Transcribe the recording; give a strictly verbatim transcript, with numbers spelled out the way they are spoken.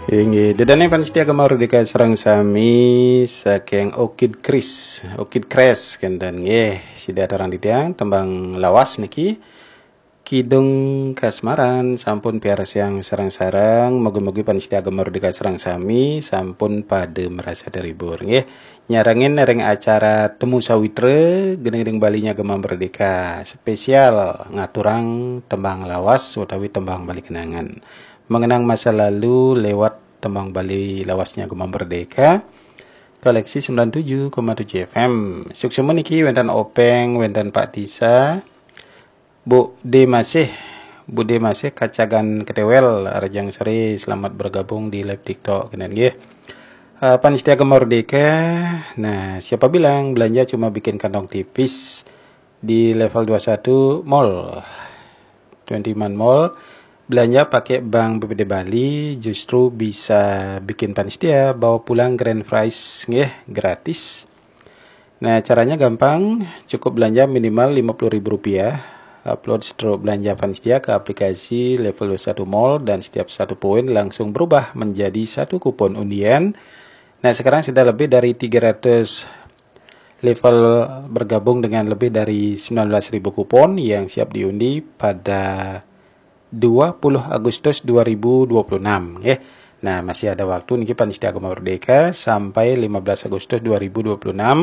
Inggih, ida dané pamiarsa Gema Merdeka sareng sami saking Orchid Kris, Orchid Kres kénten nggih. Sida aturang titiang tembang lawas niki Kidung Kasmaran sampun piarsiang sareng-sareng. Mugi-mugi pamiarsa Gema Merdeka sareng sami sampun pada merasa terhibur nggih. Nyarengin ring acara Temu Sawitra, gending-gending Balinya Gema Merdeka, spesial ngaturang tembang lawas utawi tembang Bali kenangan. Mengenang masa lalu lewat tembang Bali lawasnya Gema Merdeka. Koleksi sembilan tujuh koma tujuh F M. Suksma niki wénten Openg, wénten Pak Tisa, Bu D masih, Bu D masih kacagan ketéwél, rahajeng soré, selamat bergabung di live TikTok kénten nggih. Eh, pamiarsa Gema Merdeka, nah, siapa bilang belanja cuma bikin kantong tipis di level dua satu mall, twenty-one mall, belanja pakai bank B P D Bali justru bisa bikin pamiarsa bawa pulang grand prize nggih, gratis. Nah, caranya gampang, cukup belanja minimal lima puluh ribu rupiah, upload stroke belanja pamiarsa ke aplikasi level dua satu mall dan setiap satu poin langsung berubah menjadi satu kupon undian. Nah, sekarang sudah lebih dari tiga ratus level bergabung dengan lebih dari sembilan belas ribu kupon yang siap diundi pada dua puluh Agustus dua ribu dua puluh enam, nggih. Nah, masih ada waktu niki pamiarsa Gema Merdeka sampai lima belas Agustus dua ribu dua puluh enam.